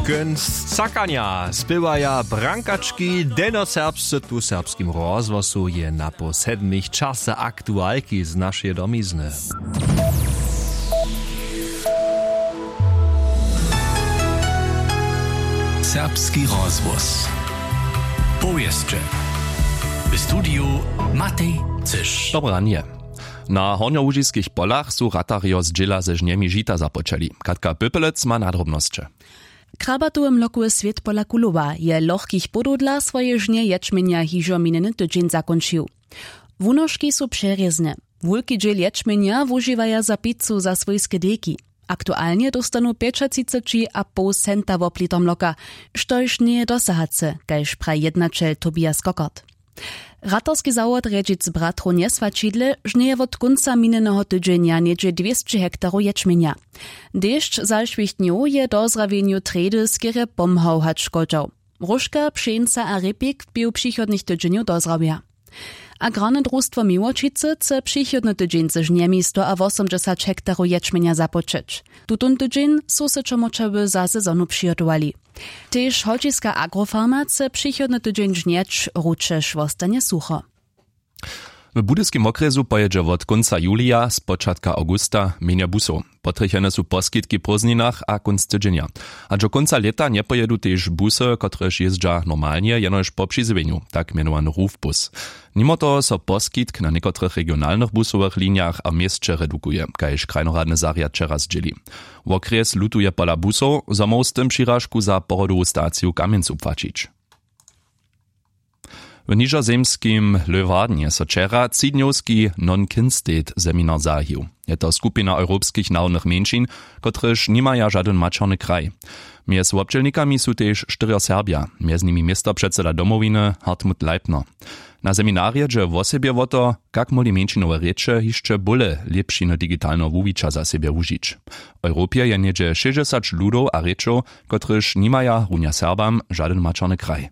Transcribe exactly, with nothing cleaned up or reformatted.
Kónc cakanja spěwaja brankački. Delnjoserbsce tu w Serbskim rozhłosu je na poł sedmich časy aktualki z našeje domizny. Serbski rozhłos. Powěsće. W studiju Matej Cyš. Dobre ranje. Na hornjołužiskich polach su ratarjo z dźěla ze žnjemi žita započeli. Katka Pöpelec ma nadrobnosće. Krabatowy mlokowy swět pola Kulowa je lochkich podow dla swoje žnje ječmjenja hižo minjeny tydźeń zakónčił. Wunožki su přerězne. Wulki dźěl ječmjenja wužiwaja za picu za swójske dejki. Aktualnje dóstanu pjećatřiceći a poł centa wob liter mloka, štož njeje dosahace, kaž praji jednaćel Tobias Kokart. Ratarski zawod rjedźic bratrow njeswaćidle žnjeje wot kónca minjeneho tydźenja něhdźe dwěsće hektarow ječmjenja. Dešć zašłich dnjow je dozrawjenju trjedy skerje pomhał hač škodźał. Róžka, pšeńca a rěpik w pěw přichodnych tydźenjow dozrawja. Agrarne drustwo Miłočicy chce přichodny tydźeń ze žnjemi sto a wosomdźesać hektarow ječmjenja započeć. Tutón tydźeń su se čomorčawy za sezonu přihotowali. Tež holčiska agrofarma chce přichodny tydźeń žnjeć, ručež wostanje sucho. W budyskim wokrjesu pojědźe wot kónca julija spočatka awgusta mjenje busow. Potrjechene su poskitki w prózdninach a kónc tydźenja. Hač do kónca lěta njepojědu tež busy, kotrež jězdźa normalnje jenož po přizjewjenju, tak mjenowany rufbus. Nimo toho so poskitk na někotrych regionalnych busowych linijach a w měsće redukuje, kaž krajnoradny zarjad wčera zdźěli. Wokrjes lutuje pola busow, zo móhł z tym přiražku za porodowu staciju w Kamjencu płaćić. W nižozemskim Leeuwardnje so wčera třidnjowski non-kin-state seminar zahajił. Je to skupina europskich narodnych mjeńšin, kotrež nimaja žadyn maćerny kraj. Mjez wobdźělnikami su tež štyrjo Serbja, mjez nimi městopředseda Domowiny Hartmut Leipner. Na seminarje dźe wosebje wo to, kak móhli mjeńšinowe rěče hišće bóle lěpšiny digitalneho wuwića za sebje wužić. W europje je něhdźe šěsćdźesać ludow a rěčow, kotrež nimaja runja Serbam žadyn maćerny kraj.